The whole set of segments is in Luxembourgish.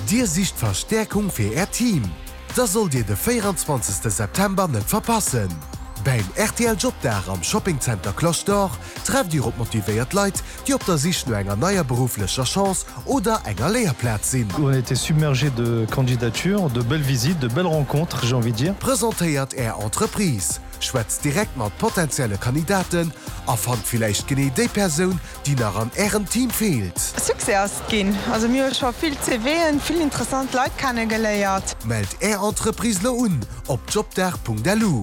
Dir sicht Verstäerkung fir Äert Team? Da sollt Dir de 24 September net verpassen! Bäim rtl Jobdag am Shopping Center Cloche d'Or trefft Dir op motivéiert Leit, déi op der Sich no enger neier berufflecher Chance oder enger Léierplaz sinn. On a été submergé de candidatures, de belles visites, de belles rencontres, j'ai envie de dire. Presentéiert Är Entreprise, schwätzt direkt mat potentielle Kandidaten a fannt villäicht genee déi Persoun, déi nach an Ärem Team feelt. Succès ass et ginn. Also mir hu scho vill CVen, vill interessant Leit kenne geléiert. Mellt Är Entreprise lo un op jobdag.lu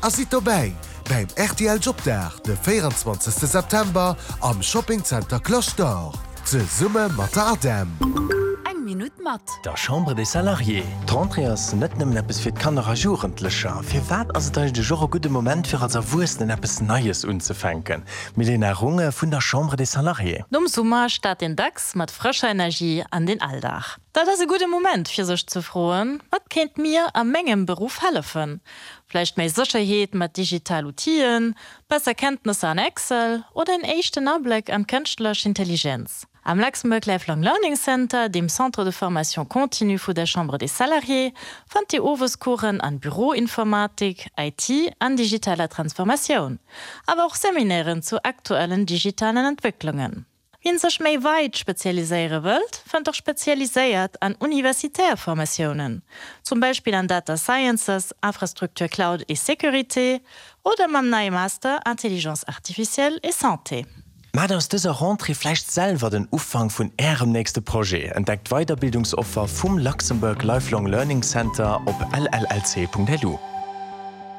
a sidd dobäi bäim rtl Jobdag de 24 September am Shopping Center Cloche d'Or zesumme mat der ADEM. Eng Minutt mat. Der Chambre des Salariés. D'Rentrée ass net nëmmen eppes fir d'Kanner a Jugendlecher. Firwat ass et eigentlech och e gudde Moment fir als Erwuessenen eppes Neies unzefänken? Milena Runge vun der Chambre des Salariés. Nom Summer start een dacks mat frëscher Energie an den Alldag. Dat ass e gudde Moment fir sech ze froen, Wat kéint mir a mengem Beruff hellefen? Vläicht méi Sécherheet mat digital Outillen, besser Kenntnesser an Excel oder en éischten Abléck an d'kënschtlech Intelligenz? Am Luxembourg Lifelong Learning Center, dem Centre de formation continue vu der Chambre des Salariés, fannt Dir Owescoursen an Büroinformatik, IT an digitaler Transformatioun, awer och Seminairen zu aktuellen digitalen Entwécklungen. Wien sech méi weit spezialiséiere wëllt, fënnt och spezialiséiert an universitär Formatiounen, zum Beispill an Data Sciences, Infrastructure Cloud et Sécurité oder mam neie Master Intelligence artificielle et Santé. Maacht aus dëser Rentrée vläicht selwer den Ufank vun Ärem nächste Projet. Entdeckt d'Weiderbildungsoffer vum Luxembourg Lifelong Learning Center op llc.lu.